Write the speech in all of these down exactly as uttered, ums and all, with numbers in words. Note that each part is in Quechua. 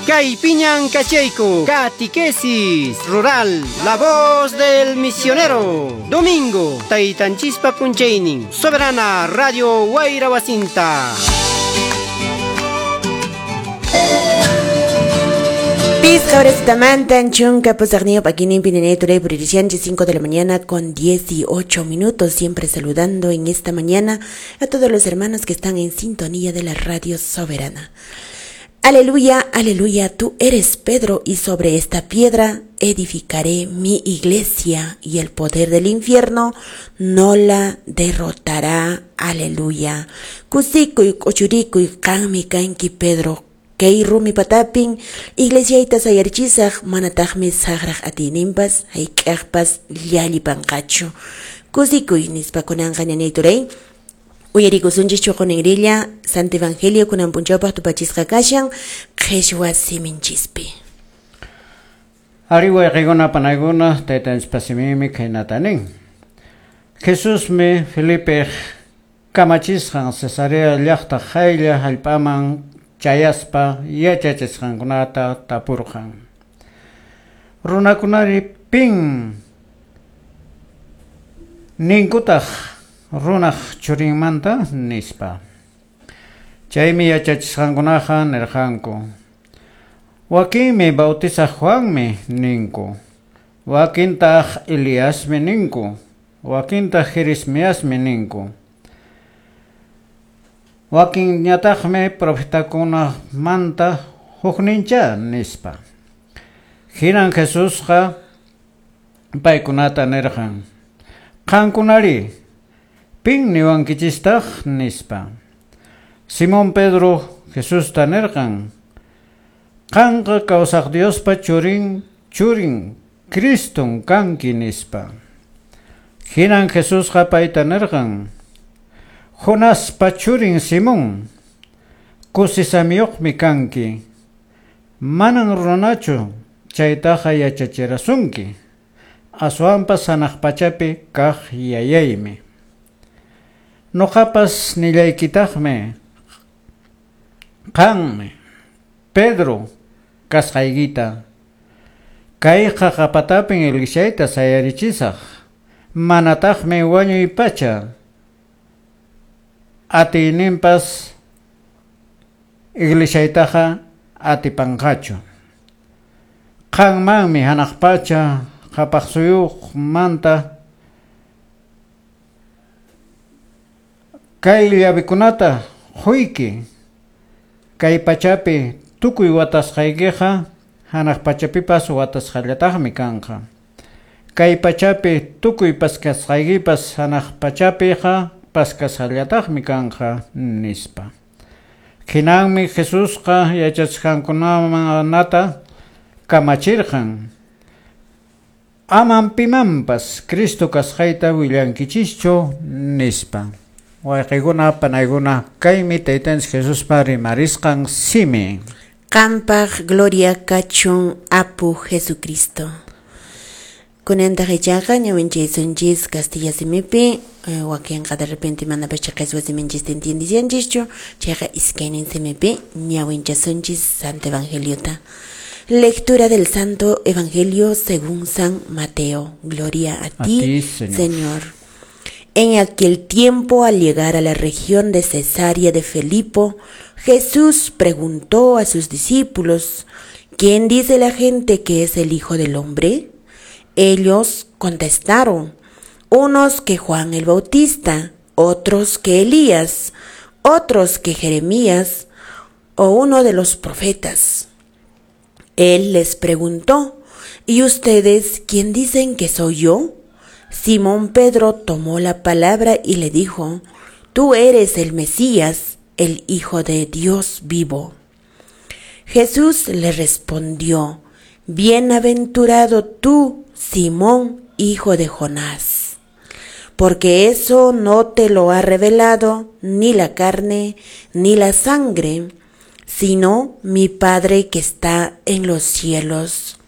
Kay piñan kachayku, Catequesis Rural, la voz del misionero. Domingo, Taytanchispa punchaynin, Soberana Radio Wayra Wasinta. Pisqa chunka pusaqniyuq p'akinin pininay turay cinco de la mañana con dieciocho minutos, siempre saludando en esta mañana a todos los hermanos que están en sintonía de la Radio Soberana. Aleluya, aleluya, tú eres Pedro y sobre esta piedra edificaré mi iglesia y el poder del infierno no la derrotará. Aleluya. Kusikuy, k'uchurikuy, qanmi kanki Pedro. Kay rumi patapin, iglesiayta sayarichisaq, manataqmi saqraq atiyninpas, hayk'aqpas llallipanqachu. Kusikuy nispa kunanqa ñañay turay. Uyarikusunchis chuqunirilla, Santo Evangelio kunan punchawpaq tupachisqa kashan, qhishwa siminchispi. Ari wayqikuna panaykuna, taytanchispa siminmi khaynata nin. Jesusmi Felipe kamachisqan Cesarea llaqta qaylla hallp'aman chayaspa yachachisqankunata tapurqan. Runakunari pin ninkutaq runaq churinmanta nispa. Chaymi yachachisqankunaqa nirqanku. Wakinmi bautizaq Juanmi ninku. Wakintaq Eliasmi ninku. Wakintaq Jeremiasmi ninku. Wakinñataqmi profetakunamanta huknincha nispa. Hinan Jesusqa paykunata nirqan. Qankunari pin niwankichistaq nispa. Simón Pedro Jesusta nirqan. Qanqa kawsaq Diospa churin churin Criston kanki nispa. Hinan Jesusqa payta nirqan. Jonaspa churin Simón, kusisamiyuqmi kanki, manan runachu chaytaqa yachachirasunki, aswanpas hanaq pachapi kaq yayaymi. Noqapas nillaykitaqmi, qanmi, Pedro, kasqaykita, kay qaqapatapin iglesiayta sayarichisaq, manataqmi wañuy pacha, atiyninpas iglesiaytaqa atipanqachu. Qanmanmi hanaq pacha qhapaq suyuqmanta kay llavikunata quyki, kay pachapi tukuy watasqaykiqa hanaq pachapipas watasqallataqmi kanqa. Kay pachapi tukuy paskasqaykipas hanaq pachapiqa paskasqallataqmi kanqa nispa. Hinanmi Jesusqa yachachisqankunata kamachirqan. Aman pimanpas Cristo kasqayta willankichischu nispa. Wayqikuna panaykuna kaymi taytanchis Jesuspa rimarisqan simi. Qampaq gloria kachun apu Jesucristo. Kunantaq ichaqa ñawinchaysunchis castilla simipi, wakinqa de repente manapas qheswa siminchista entiendishanchischu, chayqa iskaynin simipi ñawinchasunchis Santo Evangeliota. Lectura del Santo Evangelio según San Mateo. Gloria a, a ti, ti, Señor. Señor. En aquel tiempo, al llegar a la región de Cesarea de Filipo, Jesús preguntó a sus discípulos: ¿Quién dice la gente que es el Hijo del Hombre? Ellos contestaron: unos que Juan el Bautista, otros que Elías, otros que Jeremías o uno de los profetas. Él les preguntó: ¿Y ustedes quién dicen que soy yo? Simón Pedro tomó la palabra y le dijo: Tú eres el Mesías, el Hijo de Dios vivo. Jesús le respondió: Bienaventurado tú, Simón, hijo de Jonás, porque eso no te lo ha revelado ni la carne ni la sangre, sino mi Padre que está en los cielos.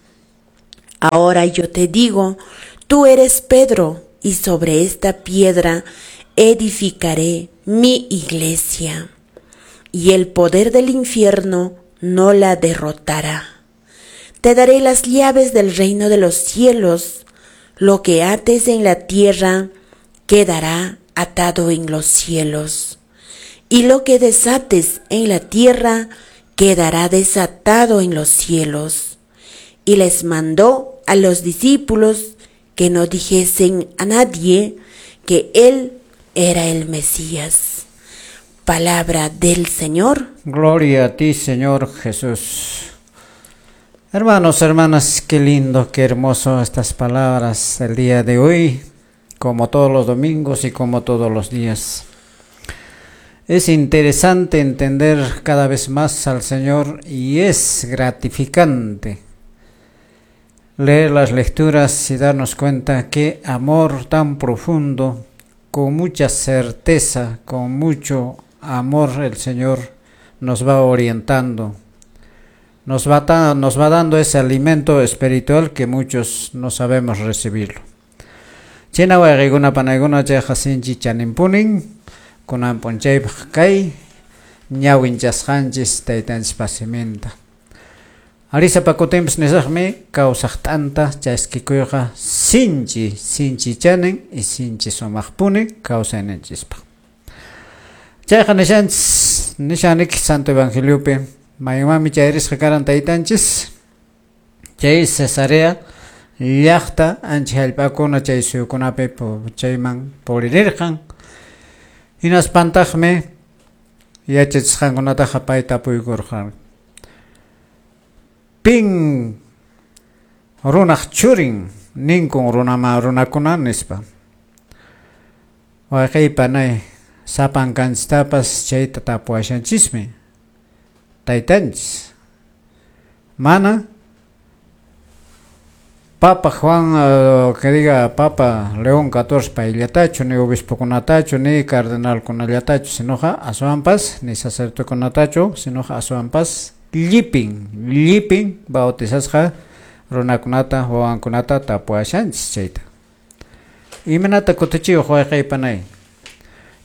Ahora yo te digo, tú eres Pedro, y sobre esta piedra edificaré mi iglesia, y el poder del infierno no la derrotará. Te daré las llaves del reino de los cielos. Lo que ates en la tierra quedará atado en los cielos, y lo que desates en la tierra quedará desatado en los cielos. Y les mandó a los discípulos que no dijesen a nadie que él era el Mesías. Palabra del Señor. Gloria a ti, Señor Jesús. Hermanos, hermanas, qué lindo, qué hermoso estas palabras el día de hoy, como todos los domingos y como todos los días. Es interesante entender cada vez más al Señor y es gratificante leer las lecturas y darnos cuenta qué amor tan profundo, con mucha certeza, con mucho amor el Señor nos va orientando, nos va, ta, nos va dando ese alimento espiritual que muchos no sabemos recibirlo. China wayqikuna panaykuna chayqa sinchi chaninpunin kunan p'unchaypaq kay ñawinchasqanchis taytanchispa siminta. Arisa pakutinpas nisaqmi kawsaq t'anta chaskikuyqa sinchi sinchi chanin y sinchi sumaqpuni kawsayninchispaq. Chayqa nishanchis nishanik Santo Evangeliopi maymanmi chayrisqa karan taytanchis chay Cesarea llaqta ancha hallp'akuna chay suyukunapi chayman puririrqan. Hinaspantaqmi yachachisqankunataqa pay tapuykurqan. Pin runaq churin ninkun runama runakuna nispa. Wayqey panay sapankanchistapas chayta tapuwashanchismi taytanchis. Mana Papa Juan, uh, que diga Papa León catorce payllatachu, ni obispokunatachu, ni cardenalkunallatachu, sinoqa aswanpas, ni sacerdotekunatachu, sinoqa aswanpas llipin, llipin bautizasqa runakunata, wawankunata tapuwashanchis chayta. Imanata kutichiyuq wayqey panay?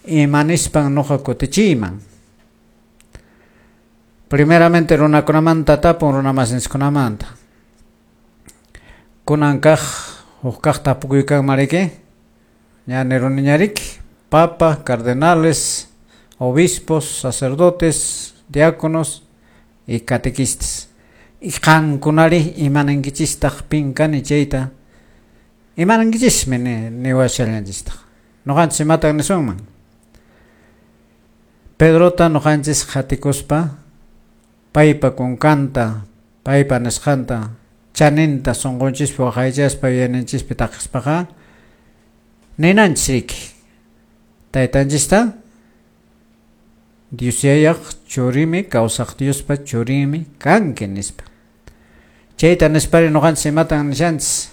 Imanispan nuqa kutichiyman? Primeramente runakunamanta tapun runamasinchikkunamanta. Kunan kaq huk kaq tapukuykanman riki ña niruniñariki papa, cardenales, obispos, sacerdotes, diáconos y catequistas. Y qankunari imanankichistaq pin kani chayta imanankichismi niwashallanchistaq. Nuqanchis imatan nisunman? Pedrota nuqanchis qhatikuspa paypa kunkanta, paypa nisqanta chaninta sunqunchispi waqaychaspa yuyayninchispi taqispaqa ninanchis riki taytanchista Dios yayaq churimi, kawsaq Diospa churimi kanki nispa. Chayta nispari nuqanchis imatan nishanchis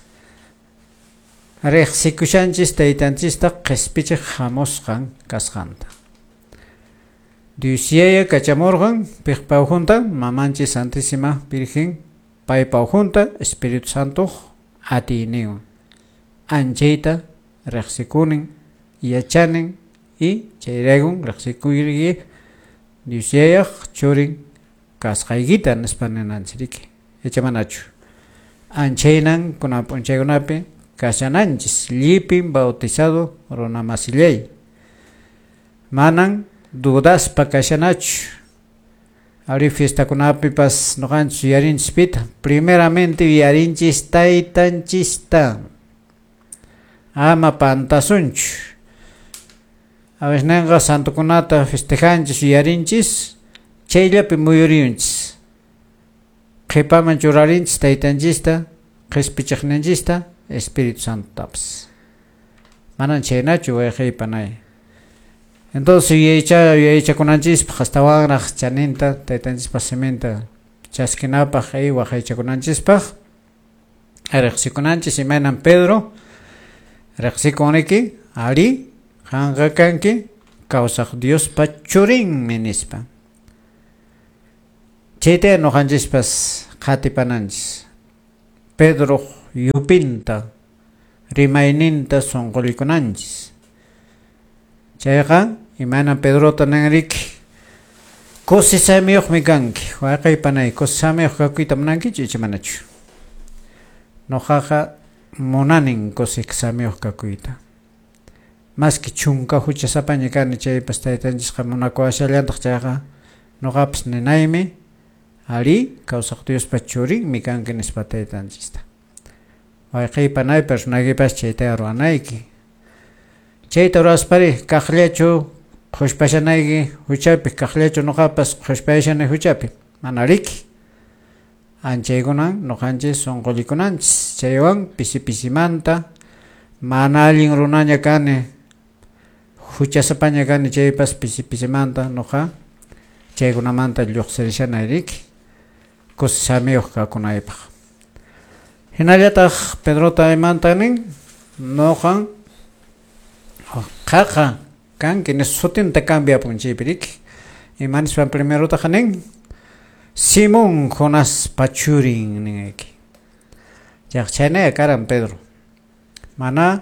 riqsikushanchis taytanchista qispichiq hamusqan kasqanta. Dios yaya kachamurqan piqpa ukhunta mamanchis Santísima Virgen paypa ukhunta Espíritu Santo atiyninwan anchayta riqsikunin yachanin y chayraykun riqsikuyki Dios yayaq churin kasqaykita nispa ninanchis riki. Yachamanachu anchaynan kunan p'unchaykunapi kashananchis llipin bautizado runamasillay manan dudaspa kashanachu. Ari fiestakunapipas nuqanchis yuyarinchis pita primeramente yuyarinchis taytanchista ama pantasunchu. A veces nenqa santokunata festejanchis yuyarinchis chayllapi muyuriyunchis qhipaman churarinchis taytanchista qispichiqninchista Espíritu Santotapas. Manan chaynachu wayqey panay. Entonces yuyaycha yuyaychakunanchispaq astawanraq chaninta taytanchispa siminta chaskinapaq y waqaychakunanchispaq riqsikunanchis imaynan Pedro riqsikunriki ari qanqa kanki kawsaq Diospa churinmi nispa. Chayta nuqanchispas qhatipananchis Pedro yupinta rimayninta sunqullikunanchis. Chayqa imaynan Pedrota ninriki Kusisamiyuqmi kanki, wayqey panay, kusisamiyuq kakuyta munankichu icha manachu? Nuqaqa munanin kusisamiyuq kakuyta. Maski chunka huchasapaña kani chaypas taytanchisqa munakuwashallantaq chayqa nuqapas ninaymi ari kawsaq Diospa churinmi kanki nispa taytanchista. Wayqey panaypas runaykipas chayta ruwanayki. Chayta ruwaspari kaqllachu qhushpashanayki huchapi, kaqllachu nuqapas qhushpayashani huchapi, mana riki. Anchaykunan nuqanchis sunqullikunanchis chaywan pisi pisimanta mana allin runaña kani huchasapaña kani chaypas pisi pisimanta nuqa chaykunamanta lluqsirishanay riki kusisamiyuq kakunaypaq. Hinallataq Pedrota imanta nin nuqan qaqa kanki nis sutinta cambiapun chaypi riki. Ima nispan primerotaqa nin Simón Jonaspa churin ninayki. Chayqa chhaynaya karan Pedro. Mana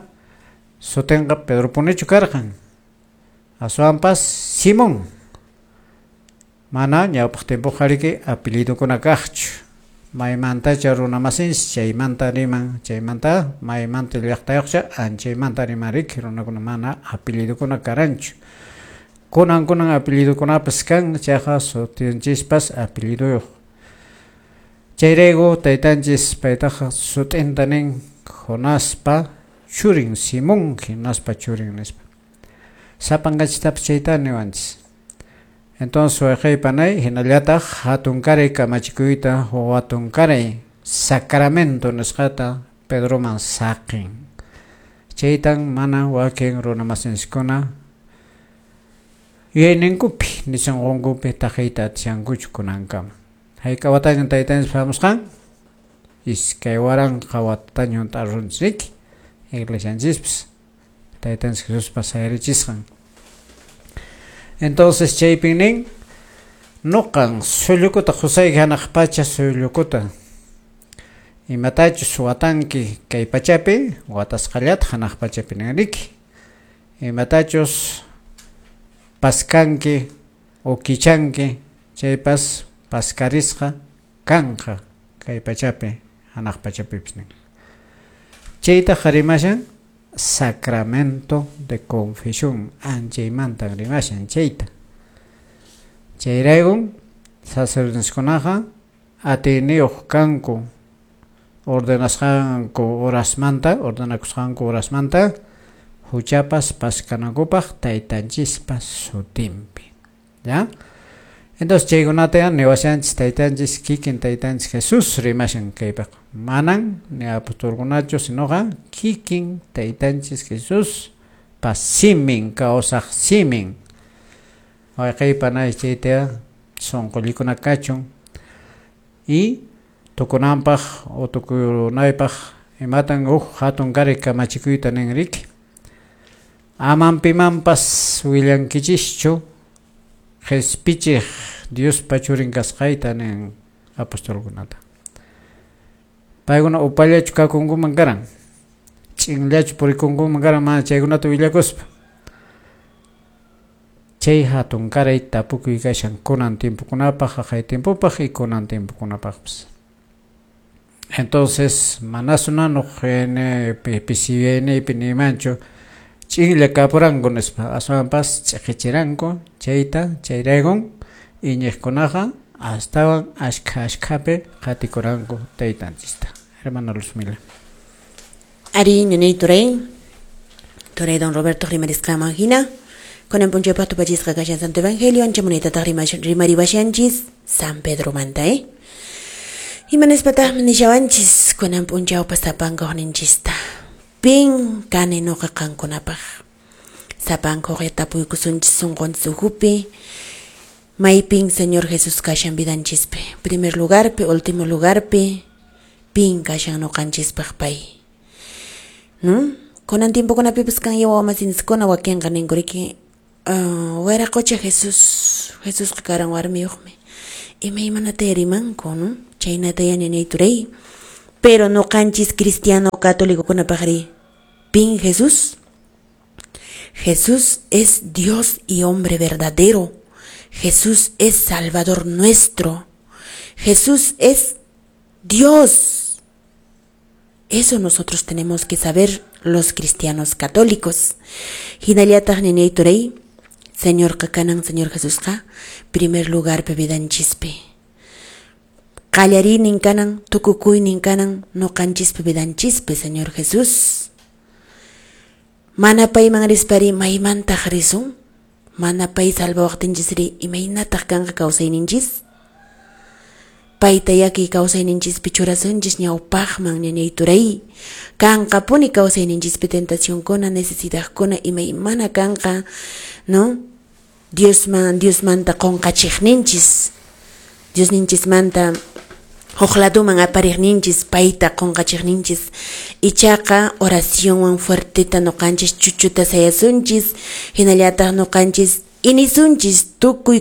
sutinqa Pedropunichu karqan. Aswanpas Simón. Mana ñawpaq tiempoqa riki apellidukuna kaqchu. Maymantacha runa masinchis chaymanta riman, chaymanta maymanta llaqtayuqcha anchaymanta riman riki runakuna mana apellidukuna karanchu. Kunan kunan apellidukunapas kan chayqa sutinchispas apelliduyuq. Chayrayku taytanchis paytaqa sutinta nin Jonaspa churin Simón Jonaspa churin nispa. Sapankanchistapas chayta niwanchis. Entonces wayqey panay hinallataq hatunkaray kamachikuyta hatunkaray sacramento nisqata Pedroman saqin. Chaytan mana wakin runa masinchiskuna yuyayninkupi nisunqunkupi taqiyta atishankuchu kunankama. Hayk'a watañan taytanchis hamusqan? Iskay waranqa watataña hunt'arunchis riki iglesianchispas taytanchis Jesuspa sayarichisqan. Entonces chaypin nin nuqan sullukuta qusayki hanaq pacha sullukuta imatachus watanki kay pachapi watasqallata hanaq pachapi nin riki. Imatachus paskanki o kichanki chaypas paskarisqa kanqa kay pachapi hanaq pachapipis nin. Chaytaqa rimashan sacramento de confesión anchaymantan rimashan chayta. Chayraykun sacerdoteskunaqa atiyniyuq kanku ordenasqanku horasmanta, ordenakusqanku horasmanta huchapas paskanankupaq taytanchispa sutinpi. ¿Ya? Entonces chaykunata niwashanchis taytanchis kikin taytanchis Jesús rimashan kaypaq. Manan ni apostolkunachu sinoqa kikin taytanchis Jesús pa simin kawsaq simin. Wayqey panay chayta sunqullikuna kachun y tukunanpaq o tukunaypaq imatan huk hatunkaray kamachikuyta nin riki. Aman pimanpas willankichischu qhispichiq Diospa churin kasqayta nin apostolkunata. Paykuna upallachu kakunkuman karan, ch'inllachu purikunkuman karan mana chaykunata willakuspa. Chay hatunkaray tapukuy kashan kunan tiempokunapaq, haqay tiempopaq y kunan tiempokunapaqpas. Entonces manasuna nuq pisiyaynipi nimanchu ch'inlla kapuranku nispa, aswanpas ch'iqichiranku chayta chayraykun iñiqkunaqa astawan ashkha ashkhapi qatikuranku taytanchista. Hermana Luzmila. Ari ñañay turay, turay don Roberto rimarisqaman hina, kunan p'unchaypaq tupachisqa kashan Santo Evangelio, ancha munaytataq rimariwashanchis San Pedro manta, eh? Imanespataqmi nishawanchis kunan p'unchawpas sapanka uqninchista. Pin kani nuqa qankunapaq. Sapanka uqya tapuykusunchis sunqunchis ukhupi. Maypin Señor Jesús kashan vidanchispi. Primer lugarpi, último lugarpi, pin kashan nuqanchispaq pay. ¿No? Kunan tiempokunapipas kan wawamasintsikuna wakinqa ninku riki uh, wiraqocha Jesús, Jesusqa karan warmiyuqmi. Imaymanata rimanku, ¿no? Chaynata ñañay turay. Pero nuqanchis cristiano católico kunapaqri, pin Jesús. Jesús es Dios y hombre verdadero. Jesús es Salvador nuestro. Jesús es Dios. Eso nosotros tenemos que saber los cristianos católicos. Hinallataq ñañay turay, Señorqa kanan, Señor Jesusqa, primer lugar vidanchispi. Qallariynin kanan, tukukuynin kanan, nuqanchispi vidanchispi, Señor Jesús. Mana payman rispari maymantaq risun? Mana pay salvawaqtinchisri imaynataq kanqa kawsayninchis? Payta yaki kawsayninchispi churasunchis ñawpaqman ñañay turay. Kanqapuni kawsayninchispi tentacionkuna, necesidadkuna imaymana kanqa, ¿no? Diosman, Diosmanta qunqachiqninchis. Diosninchismanta huk laduman apariqninchis, payta qunqachiqninchis. Ichaqa oracionwan fuerteta nuqanchis chuchuta sayasunchis, hinallataq nuqanchis inisunchis tukuy